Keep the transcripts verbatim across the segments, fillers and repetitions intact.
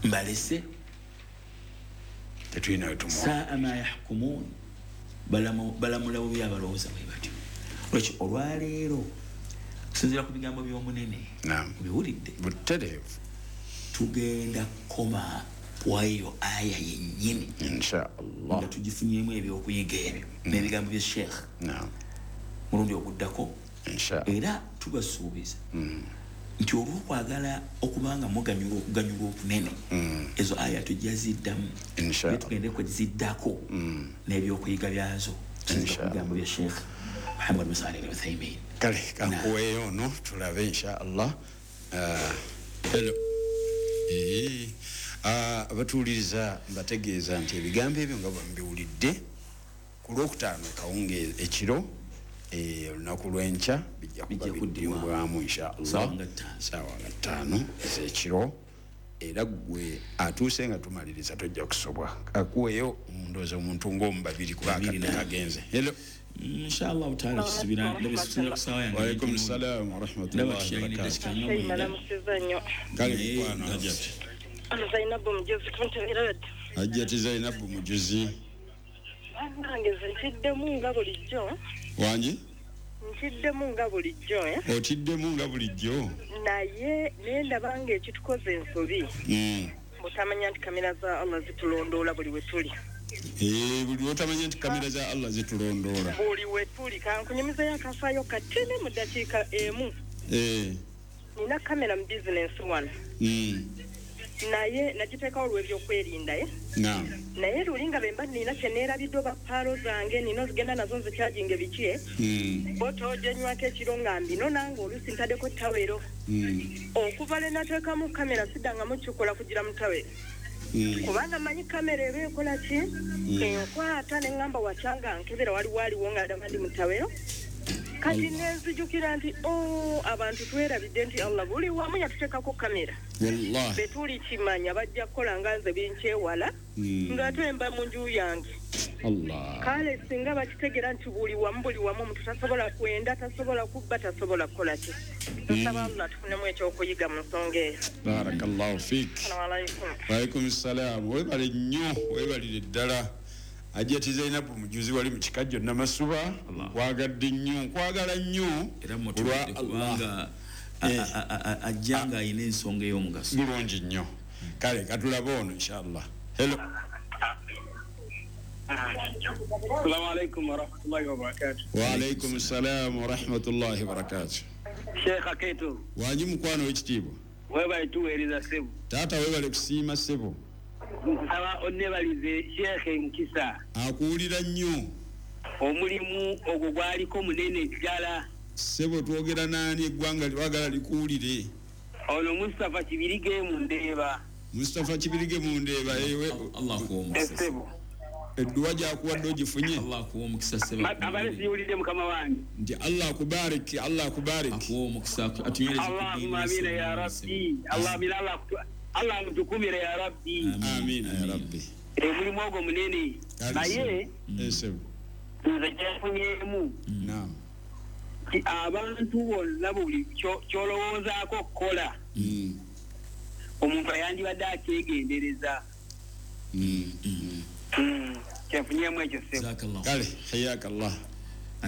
Mbalese tetulina wetumu saa ma yahkumun, balamula bubi abalowooza bwe batyo. Lwaki olwaleero kusinziira ku bigambo by'omunene obiwulidde butereevu, tugenda kukoma kwayo aya yennyini insha Allah nga tugifunyemu ebyokuyiga ebyo n'ebigambo bya Sheikh mulundi oguddako. Era tubasuubiza nti olw'okwagala okubanga muganyulwa okuganyulwa okunene, ezo aya tujja ziddamu, tugende kweziddako n'ebyokuyiga byazo kusinziira ku bigambo bya Sheikh Muhammad bin Salih Al-Uthaymin. Kale kankuweeyo ono tulabe insha Allah. Hello. Abatuwuliriza mbategeeza nti ebigambo ebyo nga bwembiwulidde ku lwokutaano kawunge ekiro olunaku lw'enkya bijja kuba biddibwamu insha Allah saawa nga ttaano ez'ekiro. Era gwe atuuse nga tumaliriza tojja kusobwa. Akuweeyo ndowooza omuntu ng'omu babiri kuba akadde kagenze. Hello. Inshallah taala tusubira ndabisubira ku saawa yange. Wa alaikum salaam wa rahmatullahi wa barakatuh. Kale mukwano Hajjati Zainabu Mujuzi kunteberad. Hajjati Zainabu Mujuzi. Bannange nkiddemu nga bulijjo. Wangi? Nkiddemu nga bulijjo eh. Okiddemu nga bulijjo. Naye nendaba nga ekitukoze ensobi. Mm. Mutamanya nti kamera za Allah zitulondoola buli we tuli. Eh, buli otamanya nti kamera za Allah zitulondoola. Buli we tuli. Kankunyumiza yakafaayo katini mu ddakiika emu. Eh. Nina kamera mu business one. Mm. Naye nagiteekawo olw'ebyokwerinda eh. Naam. Naye luli nga bwe mba nina kye neerabidde oba paalo zange nina ozigenda nazo nzikyaginga biki eh. Mm. Boto gyenywako ekiro nga mbino nange oluusi ntaddeko ttawero. Mm. Okuva lwe nateekamu kamera siddangamu kikola kugira mu ttawero. Kubanga manyi kamera eba ekola ki? Enkwata ne ŋŋamba wakyanga nkebera waliwo aliwo nga ndaba ndi mu ttawero. Kati nenzijukira nti o abantu twerabidde nti Allah buli wamu yatuteekako kamera. Wallahi. Betuli kimanya bajja kukola nga nze binkyewala ng'ate mba mu nju yange. Allah. Kale singa bakitegera nti buli wamu buli wamu omuntu tasobola kwenda, tasobola kubba, tasobola kukola ki. Nsaba Allah tufunemu ekyokuyiga mu nsonga eyo. Barakallahu fiik. Assalamu alaikum. Wa alaikum salaam. Weebale nnyo, weebalire ddala. Hajjati Zainabu Mujuzi wali mu kikajjo Namasuba, nkwagadde nnyo, nkwagala nnyo era mutuwadde kubanga ajja nga ayina ensonga ey'omugaso. Bulungi nnyo. Kale katulabe ono inshallah. Hello. Assalamu alaikum wa rahmatullahi wa barakatuh. Wa alaikum salam wa rahmatullahi wa barakatuh. Sheikh Aketo. Wangi mukwano w'ekitiibwa. Weebale tuweereza ssebo. Taata weebale kusiima ssebo. Nsaba onnebalize Sheikh Nkisa. Akuwulira nnyo. Omulimu ogwo gwaliko munene ddala. Ssebo twogera naani eggwanga lyagala likuwulire? Ono Mustafa Kibirige mu Ndeeba. Mustafa Kibirige mu Ndeeba ewe. Allah akuwe omukisa. Ssebo. Edduwa gy'akuwadde ogifunye? Allah akuwe omukisa ssebo. Abale siwulidde mukama wange. Nti Allah akubariki, Allah akubariki. Akuwe omukisa atunywereze ku ddiini. Allahumma amina ya Rabbi. Allah amina Allah Allah mutukumire ya Rabbi. Amina ya Rabbi. Omulimu ogwo munene. Naye ssebo. Nze kyenfunyemu. Naam. Abantu bonna buli ky'olowoozaako okukola. Omuntu ayandibadde akyegendereza. Kyenfunyemu ekyo ssebo. Kale hayakallah.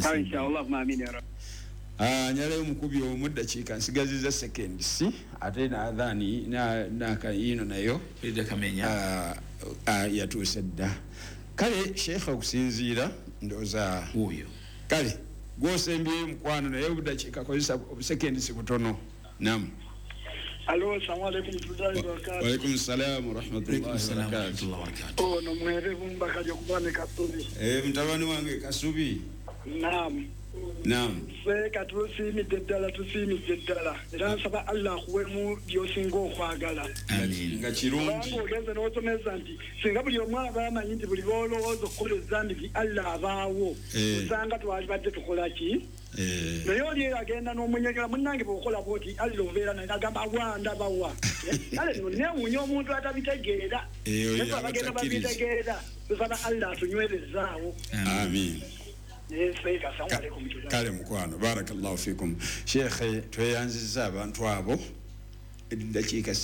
Kale inshallah amina ya Rabbi. Ah, nyaleyo mukubi omu ddakiika nsigaziza seconds ate n'adhaani n'akayino nayo Edda Kamenya yatuuse dda. Kale Sheikh okusinziira ndowooza oyo. Kale gw'osembyeyo mukwano naye obuddakiika kozesa obusekendi butono. Naam. Alo, assalamu alaikum warahmatullahi wabarakatuh. Wa alaikum salam wa rahmatullahi wa barakatuh. Ono mwerevu mbaka jokubane Kasubi. Eh, mtabani wange Kasubi. Naam. Naam. Ffe tusiimidde ddala tusiimidde ddala era nsaba Allah akuwemu by'osinga okwagala. Amiin. Nga kirungi. Kubanga ogenze n'osomesa nti singa buli omu aba amanyi nti buli lw'olowooza okukola ezambi nti Allah abaawo, osanga twalibadde tukola ki? Naye oli eyo agenda n'omunyegera munnange bw'okola bw'oti Allah obeera naye agamba awa ndabawa. Kale nno neewuunya omuntu atabitegeera. Naye abagenda babitegeera tusaba Allah atunywerezaawo. Amiin. Kale mukwano barakallahu fikum. Sheikh tweyanzizza abantu abo eddakiika